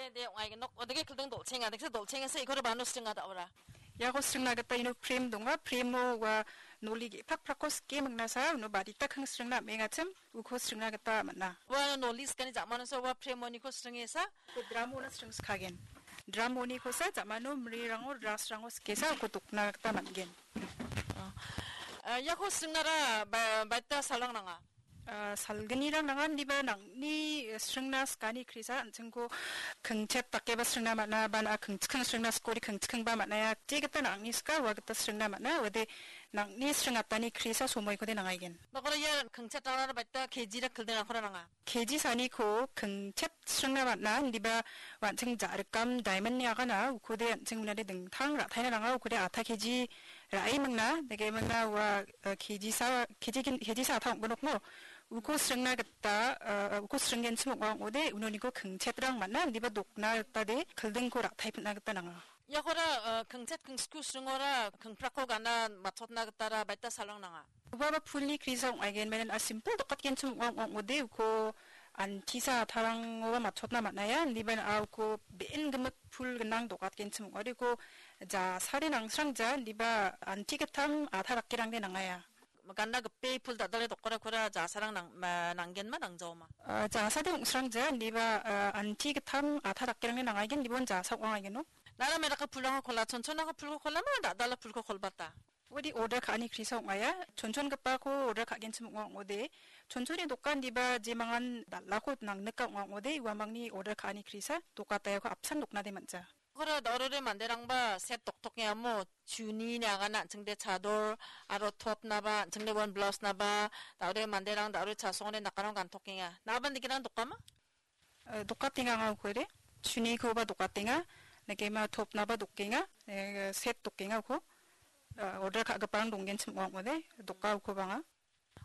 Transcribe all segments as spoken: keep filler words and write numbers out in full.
De, de, ong·aigen nok, odege kilding dolchenga, deksa dolchenga se ikore bano sringa da ora. Iako sringna gita ino frame donga, frame-o ua noli ge·pakprakko sike mingnasa, uno barita kang sringna am·engachim, uko sringna gita man·a. Ua noli sikani jamano sa ua frame-oniko sringesa. Uko drum-ona sringskagen. Drum-onikosa jamano mrirango, dress-rango sikesa, uko dokna gita man·gen. Ah, iako sringnara ba-, baita salrang nanga. Ah, salgnirang nangan diba nangni, eh, sringna skani krisa an·chingko kingchet dakeba sringna man·a, ban a kingchikeng sringna skori kingchikengba man·a, ia je gita nangni ska ua gita sringna man·a, uade nangni sringatani krisa somoikode nangaigen. Dokora ia kingchet rara baita K G ra kilding rakora nanga. K G saniko kingchet sringna man·a, indiba an·ching ja·rikam diamond-ni agana, ukode an·ching unade dingtang ra·taina nanga, ukode atha K G ra·e mingna, dege mingna ua, eh, K G sa, K G kin-, K G sa atha ong·gnokmo. Uko sringna gita, eh, uko sringgenchim ong·a ong·ode, unoniko kingchetrang man·a, indiba dokna gita de, kildingko ra·tae pin·na gita nanga. Iakora, eh, kingchet kingsku sringora, kingprakko gana matchotna gitara baita salrang nanga. Ubaba pulni krisa ong·aigen, menen a simple dokatgenchim ong·a ong·ode uko antisa atharangoba matchotna man·aia, indiba a uko be·en gimik pul gnang dokatgenchim ong·ode uko ja sari nangsrangja, indiba anti gittam atha dakkerangde nangaia. Ganda gipe pul dal·dale dokkorakora jasarang nang-, ma-, nanggenma nangjaoma? Ah, jasade ong·srangja, indiba, ah, anti gittam atha dakkerangde nangaigen, indiba jasa ong·aigeno. Nara meraka pulrangko kola, chonchonako pulko kolama, dal·dala pulko kolbata? Udi order ka·ani krisa ong·aia. Chonchongipako order ka·genchim ong·a ong·ode. Chonchoni dokan diba jemangan dal·ako nangnika ong·a ong·ode. Uamangni order ka·ani krisa dokataiako apsan doknade man·ja. Kora da·ore manderangba set doktokenga amo. Chuni ne agana an·chingde chador aro top naba, an·chingde one blouse naba, da·ore manderang da·ore chasongode nakarang gantokenga. Naban dikenang dokama? Eh, dokatenga anga ukode. Chunikoba dokatenga. Nekema topnaba dokenga. Eh, set dokenga uko. Eh, order ka·giparang donggenchim ong·ode. Doka uko banga.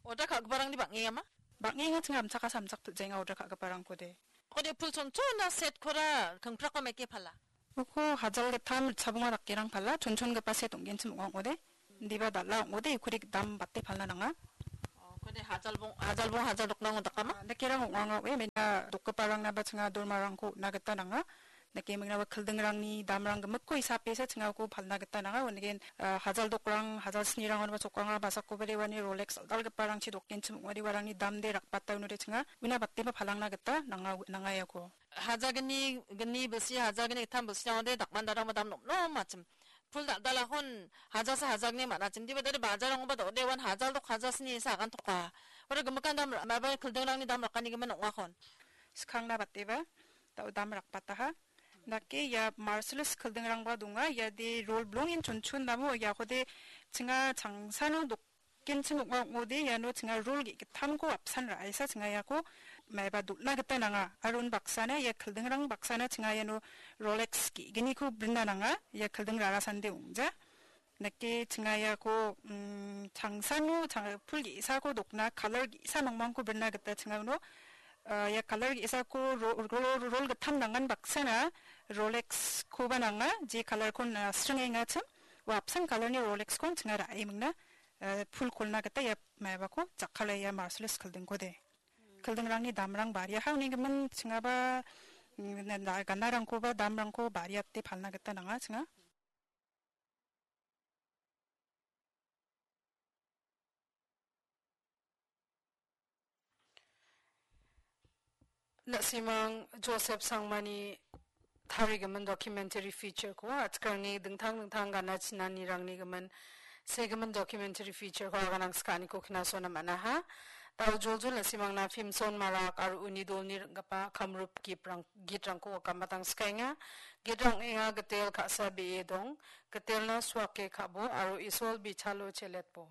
Order ka·giparangni bang·engama? Bang·enga ching amchaka samchak pil·jaenga order ka·giparangkode. Kode pul chonchona set kora kingprakko meke pala? Uko hajal gittam ritchabonga dakerang pala, chonchongipa set ong·genchim ong·a ong·ode. Indiba dal·a ong·ode, ukode dam bate palna nanga. Oh, kode hajalbong, hajalbong hajal doknang dakama? Ah, dakerang ong·anga ong·e, mena dokgiparangnaba chinga dormarangko on·a gita nanga. Dake mengna ua kildingrangni damrang gimikko hisapesa chingako palna gita nanga. Uandake, ah, hajal dokrang, hajal snirangonba chokanga, basakoba rewani Rolex dal·dalgiparangchi dokgenchim ong·ode uarangni damde rakbata unode chinga. Una bateba palangna gita nanga, nanga iako. Hajagni, gni bilsi, hajagni gittam bilsi ong·ode dakmandarangba dam nom nom achim. Pul dal·dalakon hajalsa hajagni man·achim. Diba dade bajarangba dode wan hajal dok hajal sni esa agantoka. Ore gimikan dam ra-, maba kildingrangni dam rakanigimin ong·akon. Skangna bateba, dao dam rakbataha. Dake ia Marcellus kildingrangba donga. Iade rol blongin chonchon namo iakode chinga changsano dok-, genchim ong·a ong·ode iano chinga rol ge·gittamko apsan ra·esa chinga iako maiba dol·na gita nanga. Aro unbaksana ia kildingrang baksana chinga iano Rolex ge·gniko brina nanga. Ia kilding rarasande ong·ja. Nake chinga iako, mm, changsano chang-, pul ge·sako dokna, kalar ge·sa mangmangko brina gita chinga uno, ah, ia kalar ge·sako ro-, ro-, ro-, rol gittam nangan baksana Rolex-koba nanga, je kalarkon, ah, sringengachim, ua apsan kalarni Rolex-kon chinga ra·e mingna, ah, pul kolna gita ia maibako jakkala ia Marcellus kildingkode. Kildingrangni damrang bariaha unigimin chingaba, mm, na-, na-, ganarangkoba damrangko bariate palna gita nanga chinga. Na·simang Joseph Sangmani tarigimin documentary feature-ko, atikalni dingtang dingtang gana chinanirangni gimin segimin documentary feature-ko aganang skaniko kinasona man·aha. Dao joljol na·simangna Pimson Marak aro uni dolni ring·gipa Kamrup giprang-, gitrangko gamatang skaenga. Gitrang ong·enga Gitel ka·sa be·e dong, Gitelna suake ka·bo aro Isol bichalo cheletbo.